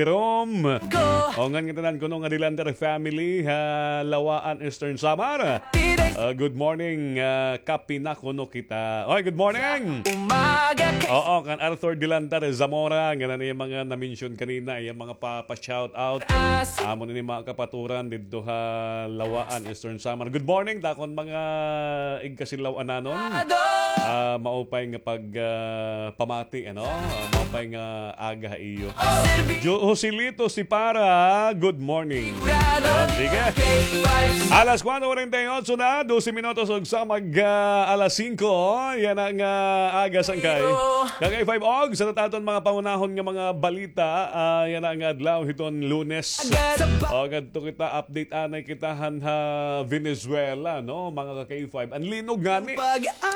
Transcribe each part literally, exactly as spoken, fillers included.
Jerome. O, ngan ngatanan kuno nga Dilander family ha Lawaan, Eastern Samar. Ah, good morning, ah, kape na kuno kita. Oy, good morning. Oo, kan Arthur Dilander Zamora, ngan an iya mga na-mention kanina, iya mga pa-, pa-shout out. Amo na ni mga kapaturan didto ha Lawaan, Eastern Samar. Good morning, dakon mga igkasilaw-ananon. Ah, maupay nga pag, ah, pamati, ano? Ah, maupay nga aga ha iyo. Jo-, Joselito Sipara, good morning. Yan, sige. Alas kuwatro kuwarenta y otso na, dose minutos og sa mag, ah, alas singko. Yana nga aga, sangkay. Ka-K five og sa aton mga pangunahon nga mga balita, ah, yana nga adlaw hiton Lunes. O, ngadto kita, update anay kita han ha Venezuela, no, mga ka-K five. An linog ngani,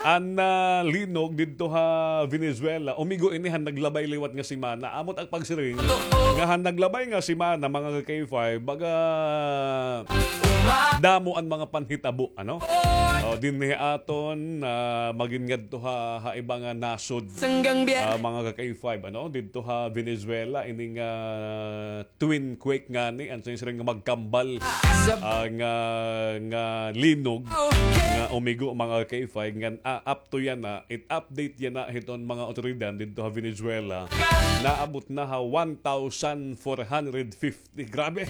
an, ah, linog didto ha Venezuela, umigo ini han naglabay liwat nga semana. Amo it ak pagsiring nga han naglabay nga semana, mga ka-K five, baga damo an mga panhitabo, ano? O, dinhi aton, ah, magin ngadto ha, ha iba nga nasod, ah, mga ka-K five, ano? Didto ha Venezuela, ining, ah, twin quake ngani, an siring nga magkambal, ah, nga, nga linog nga umigo, mga ka-K five, ngan, ah, up to yana, it update yana hiton mga awtoridad didto ha Venezuela, naabot na ha one thousand four hundred fifty. Grabe.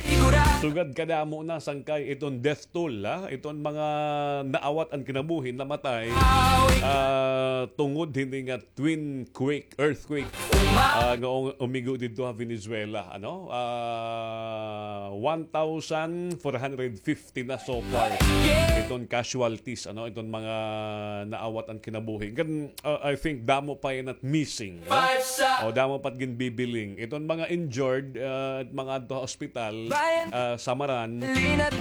Sugad kadamo na, sangkay, iton death toll, ha, iton mga naawat an kinabuhi, namatay, ah, tungod hini nga twin quake, earthquake, ah, nga um-, umigo didto ha Venezuela, ano? Ah, one thousand four hundred fifty na so far iton casualties, ano? Iton mga naawat an kinabuhi. Ngan, ah, I think damo pa yana it missing, no? O, damo pa it ginbibiling. Iton mga injured, ah, mga adto ha ospital, ah, samaran,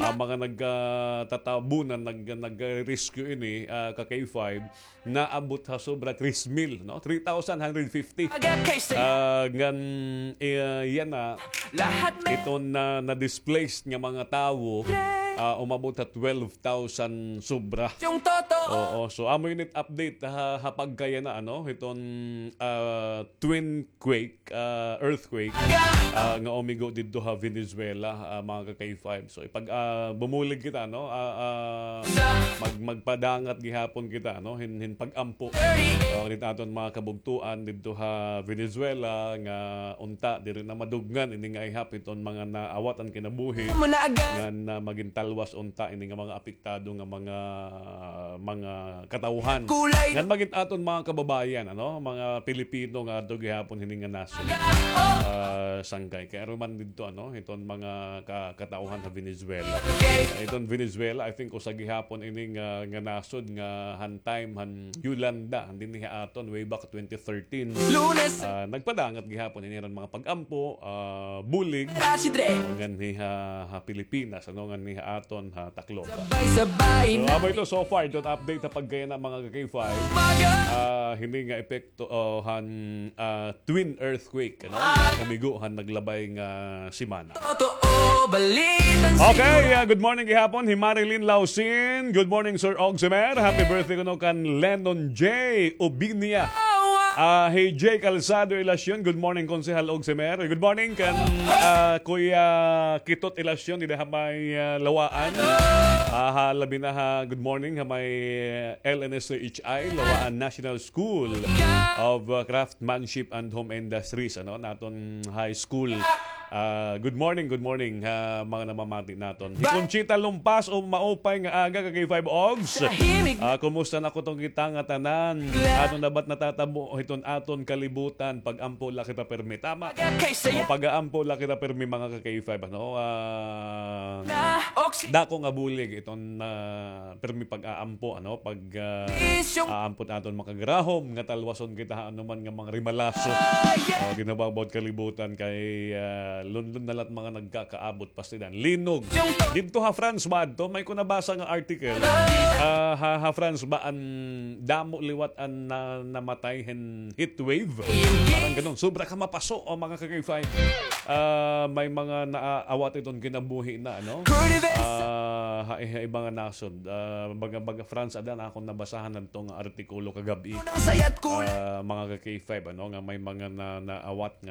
ah, mga nag, ah, tatabunan, nag-, nag-rescue ini, ah, ka-K five, naabot ha sobra tres mil, no? Three thousand hundred fifty. Ah, ngan, eh, yana, iton na, na-displaced nga mga tawo, ah, umabot ha twelve thousand sobra. Oo, so amo ini it update ha, ha pagkayana, ano, hiton, ah, twin quake, ah, earthquake, ah, nga umigo didto ha Venezuela, ah, mga ka-K five. So, ipag, ah, bumulig kita, no? Ah, ah, mag-, magpadangat gihapon kita, no? Hin, hin pag-ampo. O, didto aton mga kabugtoan didto ha Venezuela nga unta diri na madugngan ini nga ihap iton mga naawat an kinabuhi. Ngan, ah, magin talwas unta ini nga mga apektado nga mga, mga katawhan. Ngan magin aton mga kababayan, ano, mga Pilipino nga adto gihapon hini nga nasod. Ah, sangkay. Kay aron man didto, ano, iton mga ka-, katawhan ha Venezuela. Iton Venezuela, I think, usa gihapon ini nga, nga nasod nga han time han Yolanda, han dinhi ha aton way back twenty thirteen. Ah, nagpadangat gihapon ini ran mga pag-ampo, ah, bulig. Nganhi ha, ha Pilipinas, ano, nganhi ha aton ha Tacloban. So, amo ito so far, iton update ha pagkayana, mga ka-K five. Ah, hini nga epekto, oh, han, ah, twin earthquake, ano? Umigo han naglabay nga semana. Okay, ah, good morning gihapon hi Marilyn Lausin. Good morning, Sir Ogsimer. Happy birthday kuno kan Lennon J Ubinia. Ah, hi J Calzado Ilacion. Good morning, Konsehal Ogsimer. Good morning kan, ah, Kuya Kitot Ilacion, dida ha may, ah, Lawaan. Ah, ha, labi na ha, good morning ha may, ah, L N S H I, Lawaan National School of, ah, Craftsmanship and Home Industries, ano, naton high school. Ah, good morning, good morning ha mga namamati naton. Hi Conchita Lumpas, o maupay nga aga, ka-K five Ogs. Ah, kumusta na kuno kita nga tanan? Ano na ba't natatabo hiton aton kalibutan? Pag-ampo la kita permi. Tama. O, pag-aampo la kita permi, mga ka-K five, ano? Ah, dako nga bulig iton, ah, permi pag-aampo, ano? Pag, ah, aampo naton makagarahom nga talwason kita ha anuman nga mga rimalaso. O, ginhabaw-baw it kalibutan kay, ah, lunlon na la it mga nagkakaabot pastilan. Linog. Didto ha France ba adto? May ko nabasa nga article. Ah, ha, ha France ba an damo liwat an na, namatay hin heat wave? Parang ganon. Sobra ka mapaso, o, mga ka-K five. Ah, may mga naawat iton kinabuhi na, ano? Ah, ha, ha iba nga nasod. Ah, baga, baga France, ada na akon nabasahan adto nga artikulo kagab-i. Ah, mga ka-K five, ano, nga may mga na, naawat nga